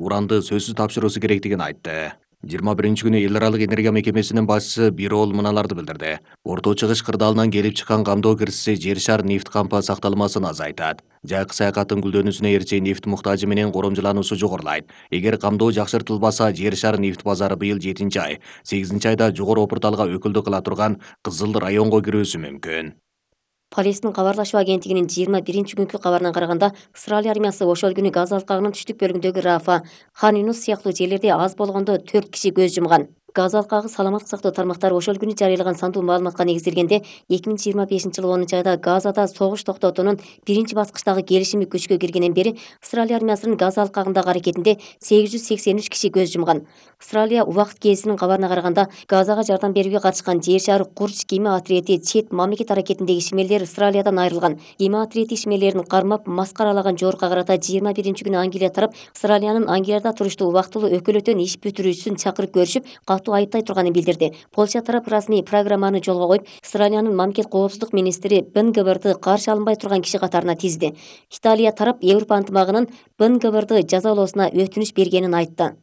уранды сөзсүз тапшыруусу керектигин айтты. 21-күнү эл аралык энергия мекемесинин башчысы Бирол мыналарды билдирди. Орто Чыгыш кырдаалынан келип чыккан камдоо кирişи жер шар нефт кампа сакталмасын азайтат. Жайкы саякаттын гүлдөнүүсүнө эрче нефт муктажы менен коромжулануусу жогорулайт. Эгер камдоо жакшыртылбаса, жер шар нефт базары быйыл 7-ай, 8-айда жогору Опурталга өкүлдүк кыла турган Кызыл районго кирүүсү мүмкүн. Полистин кабарлашуу агенттигинин 21-күнкү кабарына караганда, Австралия армиясы ошол күнү Газа алкагынын түштүк бөлүгүндөгү Рафа, Хан Юнус сыяктуу жерлерде аз болгондо 4 киши көз жумган. Газа алкагы саламаттык сактоо тармактары ошол күнү жарыялаган сандуу маалыматка негизделгенде, 2025-жылы 10-айда Газада согуш токтотуунун биринчи баскычтагы келишими күчкө киргенден бери Австралия армиясынын Газа алкагындагы аракетинде 883 киши көз жумган. Австралия убакыт гезитинин кабарына караганда, Газага жардам берүүгө катышкан жер шар курч кеме отриети чет мамлекет аракетиндеги ишмерлер Австралиядан айрылган. Кеме отриети ишмерлерин кармап, маскаралаган жорукка карата 21-күнү Англия тарап Австралиянын Англияда туруштуу убактылуу өкүлөтөн иш бүтүрүүчүсүн чакырып көрүшүп, айтай турганын билдирди. Польша тарап расмий программаны жолго коюп, Австралиянын мамлекет коопсуздук министри БНГБРды каршы алынбай турган киши катарына тизди. Италия тарап Европа ынтымагынын БНГБРды жазалоосуна өтүнүч бергенин айтты.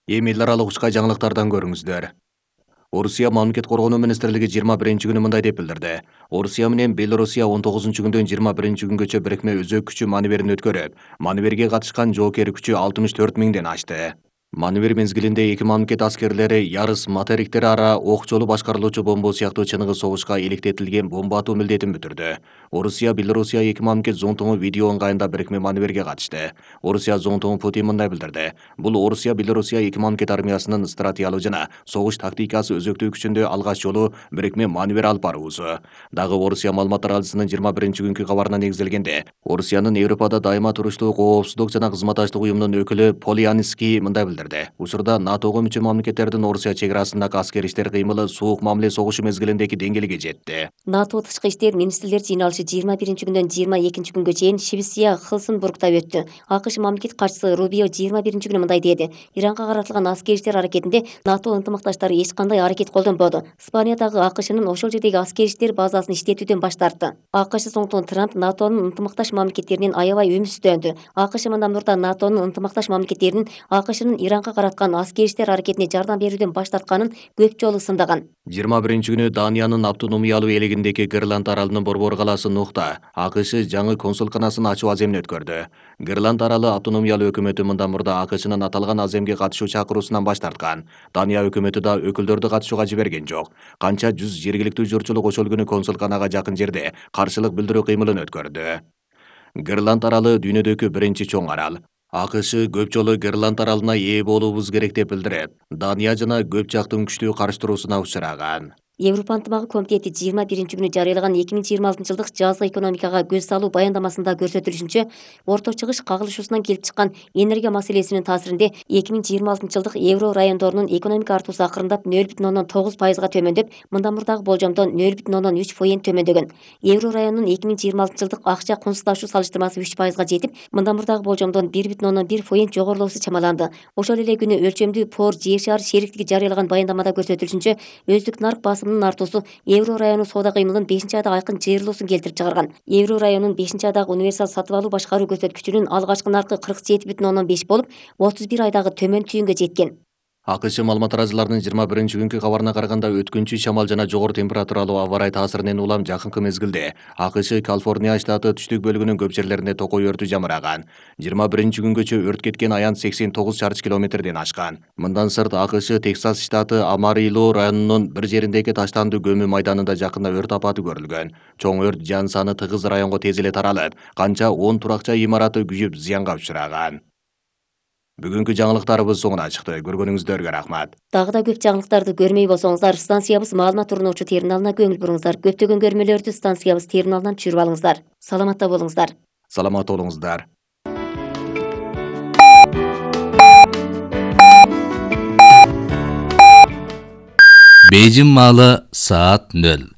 Эми эл аралык учка жаңылыктардан көрүңүздөр. Орусия мамлекет коргонуу министрлиги 21-күнү мындай деп билдирди. Орусия менен Белорусия 19-күндөн 21-күнгөчө бирикме өзөк күчү маневерин өткөрүп, маневерге катышкан жоокер күчү 64 миңден ашты. Маневер мезгилинде эки мамлекет аскерлери ярыс материктери ара ок жолу башкарылуучу бомба сыяктуу чыныгы согушка иликтетилген бомба атуу милдетин бүтүрдү. Орусия, Белорусия эки мамлекет зонтугу видео ыңгайында бирикме маневерге катышты. Орусия зонтугу Путин мындай билдирди. Бул Орусия, Белорусия эки мамлекет армиясынын стратегиялык жана согуш тактикасы өзөктүү күчүндө алгач жолу бирикме маневер алып баруусу. Дагы Орусия маалымат таралжысынын 21-күнкү кабарына негизделгенде, Орусиянын Европада дайыма туруштуу коопсуздук жана кызматташтык уюмунун өкүлү Полянский мындай билдирди. Учурда НАТОго мүчө мамлекеттердин Орусия чек арасындагы аскер иштер кыймылы суук мамиле согушу мезгилиндеги деңгээлге жетти. НАТО тышкы иштер министрлер жыйналышы 21-күндөн 22-күнгө чейин Швеция Хелсинбургда өттү. АКШ мамлекет катчысы Рубио 21-күнү мындай деди. Иранга каратылган аскер иштер аракетинде НАТО ынтымакташтары эч кандай аракет колдонбоду. Испаниядагы АКШнын ошол жердеги аскер иштер базасын иштетүүдөн баш тартты. АКШ соңтон Трамп НАТОнун ынтымакташ мамлекеттеринин аябай үмүтсүздөндү. АКШ мындан мурда НАТОнун ынтымакташ мамлекеттеринин АКШнын Иранга караткан аскер иштер аракетине жардам берүүдөн баш тартканын көп жолу сындаган. 21-күнү Даниянын автономиялуу элегиндеги Гренланд аралынын борбор калаасы Нухта АКШ жаңы консулканасын ачуу аземин өткөрдү. Гренланд аралы автономиялуу өкмөтү мындан мурда АКШнын аталган аземге катышуу чакыруусунан баш тарткан. Дания өкмөтү да өкүлдөрдү катышууга жиберген жок. Канча 100 жергиликтүү журтчулук ошол күнү консулканага жакын жерде каршылык билдирүү кыймылын өткөрдү. Гренланд аралы дүйнөдөгү биринчи чоң арал. АКШ көп жолу Гренланд аралына ээ болуубуз керек деп билдирип, Дания жана көп жактын күчтүү карштыруусуна учураган. Европа ынтымагы комитети 21-күнү жарыялаган 2026-жылдык жазгы экономикага көз салуу баяндамасында көрсөтүлүшүнчө, Орто Чыгыш кагылышуусунан келип чыккан энергия маселесинин таасиринде 2026-жылдык евро райондорунун экономика артуусу акырындап 0,9%га төмөндөп, мындан мурдагы болжомдон 0,3% төмөндөгөн. Евро районунун 2026-жылдык акча кунсуздашуу салыштырмасы 3%га жетип, мындан мурдагы болжомдон 1,1% жогорулоосу чамаланды. Ошол эле күнү өлчөмдүү Пор жер шаар шериктиги жарыялаган баяндамада көрсөтүлүшүнчө, өздүк нарк артуусу евро району соода кыймылын 5-айда айкын жыйырылуусун келтирип чыгарган. Евро районунун 5-айдагы универсал сатып алуу башкаруу көрсөткүчүнүн алгачкы наркы 47,5 болуп, 31 айдагы төмөн түйүнгө жеткен. АКШ маалымат тараазыларынын 21-күнкү кабарына караганда өткүнчү шамал жана жогору температуралуу аба ырайы таасиринен улам жакынкы мезгилде АКШ Калифорния штаты түштүк бөлүгүнүн көп жерлеринде токой өртү жамыраган. 21-күнгөчө өрт кеткен аян 89 чарчы километрден ашкан. Мындан сырт АКШ Техас штаты Амарило районунун бир жериндеги таштандуу көмүү майданында жакында өрт апаты көрүлгөн. Чоң өрт жан саны тыгыз районго тез эле таралып, канча 10 туракча имараты күйүп зыянга учураган. Бүгүнкү жаңылыктарыбыз соңуна чыкты. Көргөнүңүздөргө рахмат. Дагы да көп жаңылыктарды көрмөй болсоңуздар, станциябыз маалымат турнуучу терминалына көңүл буруңуздар. Көптөгөн көрмөлөрдү станциябыз терминалынан түшүрүп алыңыздар. Саламатта болуңуздар. Саламат болуңуздар. Бейжин маалы саат 0.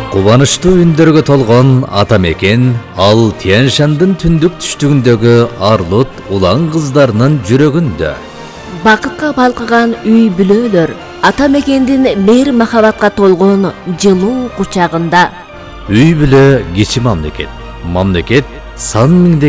Кубанычтуу үндөргө толгон ата мекен ал Тянь-Шандын түндүк түштүгүндөгү арлут улан кыздарынын жүрөгүндө. Бакытка балкыган үй бүлөлөр ата мекендин мейир махабатка толгон жылуу кучагында. Үй бүлө кичи мамлекет. Мамлекет сан миңдеген